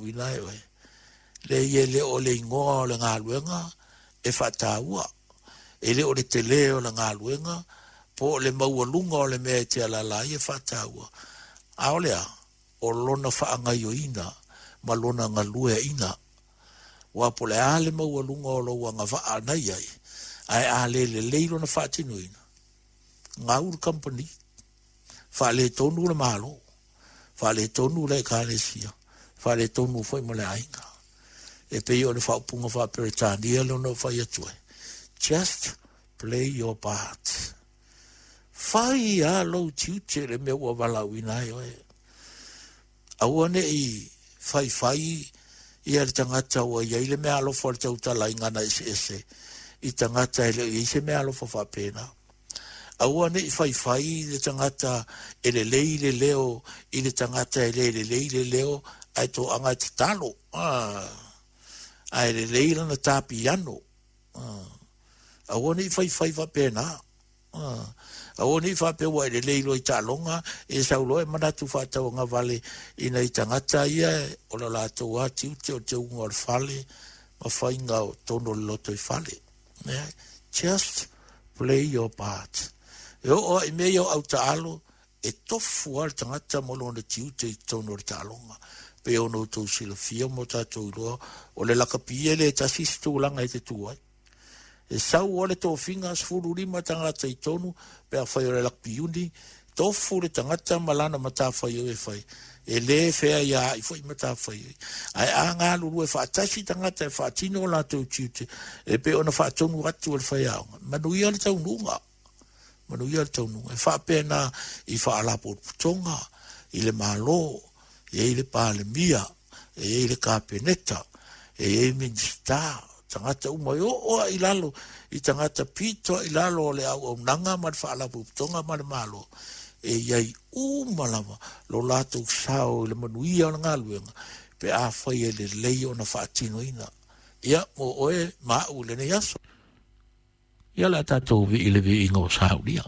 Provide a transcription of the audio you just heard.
valaauina ai oe. Leai e le o le igoa o le galuega e faataua, e le o le telē o le galuega po o le maualuga o le mea e te alaala ai e faataua, a o le a? O lona faagaoioiga ma lona galueaiina. Aua po o le a le maualuga o lou agavaa na i ai, ae a le lelei lona faatinoina, gau le kamupani, faaletonu le Malo, faaletonu le Ekalesia, faaletonu foi ma le aiga. E pei o le faaupuga faa-Peretania lea na ou fai atu ai, just play your part. Fai lava lou tiute i le mea ua valaauina ai oe. Aua ne i faifai ia le tagata ua i ai le meaalofa o le tautalaina na eseese i tagata e le o i ai se meaalofa faapena. Aua ne i faifai le tagata e lelei le leo i le tagata e le lelei le leo ae toaga e tatalo, ae lelei lana tā piano. Aua ne i faifai faapena. Aua ne i faapea ua e lelei loa i taaloga, e sau loa e manatu faatauagavale i nai tagata ia o le latou lava tiute o le teuga o le fale ma faiga o totonu o le lotoifale. Just play your part. E oo lava i mea ia o autaalo, e tofu lava le tagata ma lona tiute i totonu o le taaloga. Pei ona outou silafia ma o tatou iloa, o le lakapi e le tasi se tulaga e te tu ai. E sau lava le tofiga, 15 tagata i totonu, pe afai o le lakapi uni, tofu le tagata ma lana matafaioi e fai. E le feaiaai foi matafaioi. Ae a galulue faatasi tagata e faatino o latou tiute, e pei ona faatonu atu e le faiaoga, manuia le taunuuga. Manuia le taunuuga. E faapena i faalapotopotoga, i le Malo, e i ai le Palemia, e i ai le Kapeneta, e i ai Minisita, tagata uma e oo lava i lalo i tagata pito lava i lalo o le auaunaga ma le faalapotopotoga ma le Malo, e i ai uma lava lo latou sao i le manuia o le galuega pe afai e lelei ona faatinoina. Ia, mo oe ma au i lenei aso. Ia o le a tatou vii i le viiga o Saulia.